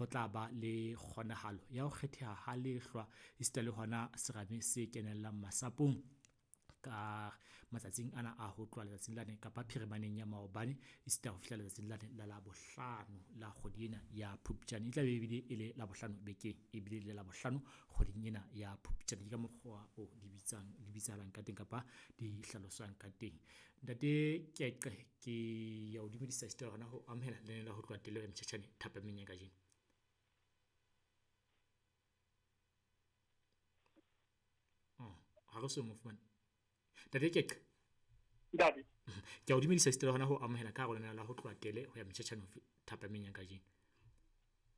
Ho tla ba le kgonahalo ya ho kgetheha ha lehlwa esita le hona serame se kenellang masapong ka matsatsing ana a ho tloha letsatsing lane kapa phirimaneng ya maobane esita ho fihla letsatsing lane la Labohlano la kgwedi ena ya Phupjane. E tla be ebile e le Labohlano bekeng ebile le Labohlano kgweding ena ya Phupjane. Ke ka mokgwa o di bitsang di bitsahalang ka teng kapa di hlaloswang ka teng. Ntate Keqe, ke ya o dumedisa esita le hona ho amohela lenaneo la ho tloha tele motjhetjhane thapameng ya kajeno. Oh, ha re so mo fumane. Ntate Keqe. Ntate. Ke a o dumedisa esita le hona ho amohela ka hare ho lenaneo la ho tloha tele ho ya motjhetjhane thapameng ya kajeno.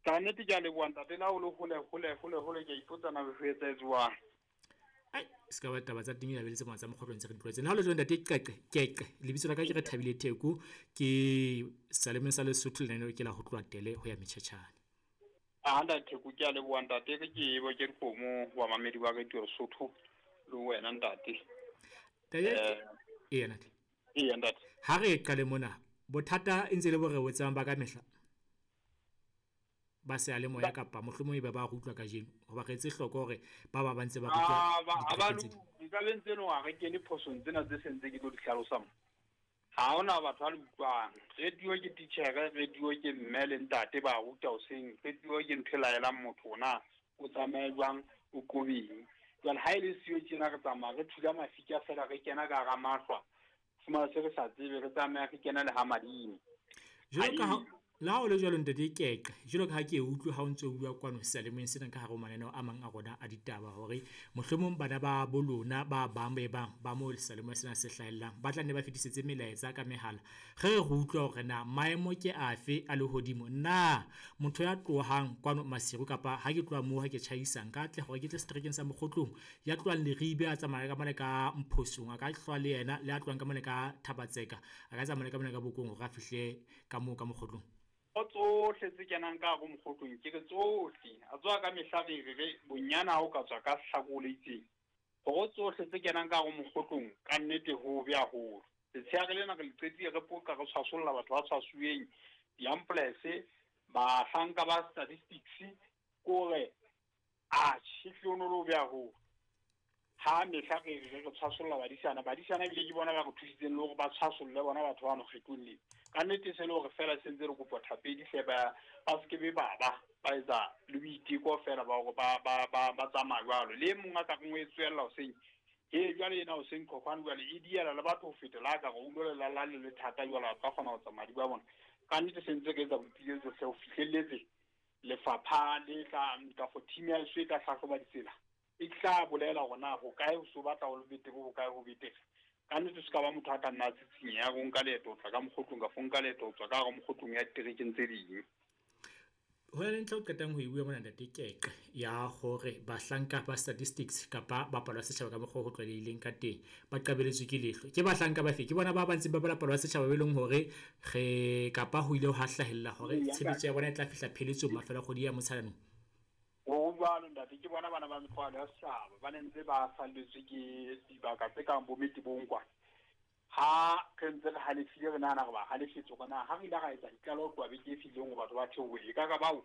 Ka nnete ke a leboha ntate, le ha o le hole hole hole hole ke a ipotsa na ho etsahetse jwang. Ai, se ka ba taba tsa teng e labeletse mona tsa mokgotlong tse re di tlwaetseng. Le ha ho le jwalo ntate Qeqe, Keqe, lebitso la ka ke re Thabile Theko, ke Salemeng sa Lesotho lenaneo ke la ho tloha tele ho ya metjhetjhane. A ntate Theko, ke a leboha ntate, re ke bo ke dikgomo wa mamedi wa Radio Lesotho le wena ntate. Ntate, eya ntate. Eya ntate. Ha re qale mona, bothata e ntse le bo re bo tsebang ba ka mehla. Ba seyalemoya kapa mohlomong ebe ba re utlwa kajeno, hoba re etse hloko hore ba ba ba ntse ba re utlwa Ah, ba diterekeng tse ding. Nka be ntse no ha re kene phosong tsena tse sentse ke tlo di hlalosa mo. Ha hona batho ba le utlwang. Radio ke titjhere, radio ke mme le ntate ba ruta hoseng, radio ke ntho e laelang motho na o tsamaye jwang, o qobeng. Jwale ha e le siyo tjena re tsamaya re thula mafika fela re kena ka hara mahlwa. Fumana se re sa tsebe, re tsamaya re kena le ha madimo. Jwalo ka ha le ha o le jwalo ntate Keqe, jwalo ka ha ke e utlwe ha o ntso o bua kwano seyalemoyeng sena ka hare ho mananeo a mang a rona a ditaba hore mohlomong bana ba bo lona ba bang be bang ba moo seyalemoya sena se hlahellang ba tla nne ba fetisetse melaetsa ka mehala. Re re utlwa hore na maemo ke afe a lehodimo, na motho ya tlohang kwano Maseru kapa ha ke tloha moo ha ke tjhaisa nka atleha hore ke tle seterekeng sa Mokgotlong, ya tlohang Leribe a tsamaya ka mane ka Mphosong a ka hlwa le yena, le a tlohang ka mane ka Thabatseka a ka tsamaya le ka mane ka Bokong hore a fihle ka moo ka Mokgotlong. Ho tsohle tse kenang ka hare ho Mokgotlong, ke re tsohle. A tswa ka mehla re re re bonyane ha o ka tswa ka hlako le itseng. Hore tsohle tse kenang ka hare ho Mokgotlong, ka nnete ho hobe haholo. Letsheare lena re le qetile re poqa re tshwasolla batho ba tshwasuweng, di-ambulance, bahlanka ba statistics, kore atjhe, ehlile ho no le hobe haholo. Ha mehla re re re tshwasolla badisana, badisana ebile ke bona ba re thusitseng le hore ba tshwasolle bona batho ba mokgethong lena. Ka nnete se le hore fela se ntse re kopa thapedi hle ba se ke be ba ba ba etsa le boiteko fela ba hore ba tsamaya jwalo. Le e mong a ka reng o e tswella hoseng, he jwale ena hoseng qhoqhwane jwale e diela le batho ho feta le ha ka re o utlwela la la le le thata jwale a ka kgona ho tsamaya di ba bona. Ka nnete se ntse re etsa boipiletso hle ho fihlelletse lefapha le tla kafo team ya heso e tla hlahloba ditsela. E tla bolela hore na ho kae ho so batla ho le betere, ho kae ho betere. Ka nnete se ka ba motho a ka nna a tsitsinya ya ho nka leeto ho tla ka Mokgotlong kafo nka leeto ho tswa ka hara Mokgotlong ya diterekeng tse ding. Ho na le ntlha o qetang ho e bua mona ntate Keqe ya hore bahlanka ba statistics kapa ba palo ya setjhaba ka mokgwa o ho tlwaelehileng ka teng ba qabeletswe ke leihlo. Ke bahlanka ba fe? Ke bona ba ba ntseng ba bala palo ya setjhaba be leng hore re kapa ho ile ha hlahella hore tshebetso ya bona e tla fihla pheletsong mafelo a kgwedi ya Motsheanong. Ho jwalo ntate, ke bona bana ba mekgwa ya setjhaba ba ne ntse ba salletswe ke dibaka tse kang bo Metebong kwana. Ha re ntse re halefile re nahana re ba halefetse hore na ha re ile ra etsa ditlaleho ho tloha beke e fetileng hore batho ba theohe, e ka ka bao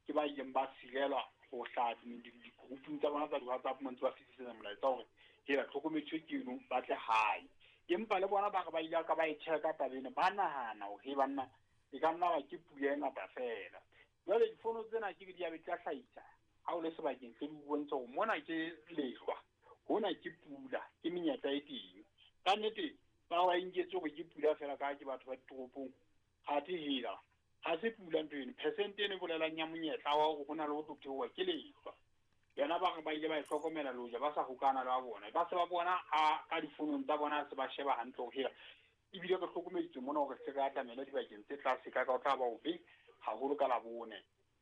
ke ba ileng ba sirelwa ho hlaha di-groupung tsa bona tsa di-WhatsApp mo ntse ba fetisetsa molaetsa hore hela tlhokomediso ke eno ba tle hae. Empa le bona ba re ba ile ka ba e check-a taba ena, ba nahana hore he banna e ka nna ba ke pula e ngata fela. Jwale difono tsena ke di a be di tla hlahisa ha o le sebakeng se di bontsha hore mona ke lehlwa, hona ke pula, ke menyetla e teng. Ka nnete ba wa inketse hore ke pula fela ka ke batho ba ditoropong. Ha te hela, ha se pula ntho eno. Percent eno e bolelang ya monyetla wa hore hona le ho tlo theoha ke lehlwa. Yona ba re ba ile ba e hlokomela le hoja ba sa hokana le ba bona. Ba se ba bona a ka difonong tsa bona se ba sheba hantle hore hela. Ebile re hlokomeditswe mona hore se re atamele dibakeng tse tlase ka ka o tla ba hobe haholo ka Labone,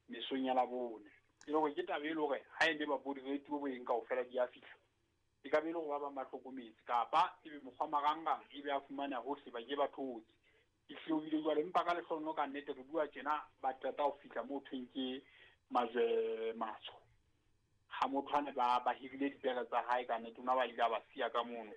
mesong ya Labone. E le hore ke taba e le hore ha e le ba bo di-radio bo eng kaofela di a fihla. E ka be e le hore ba bang ba hlokometse kapa ebe mokgwa marangrang ebe a fumaneha hohle ba ke ba thotse. E hlohile jwale empa ka lehlohonolo ka nnete re bua tjena ba qeta ho fihla moo thweng ke majwe matsho. Ha motho a ne ba hirile dipere tsa hae ka nnete, o na ba ile a ba siya ka mono.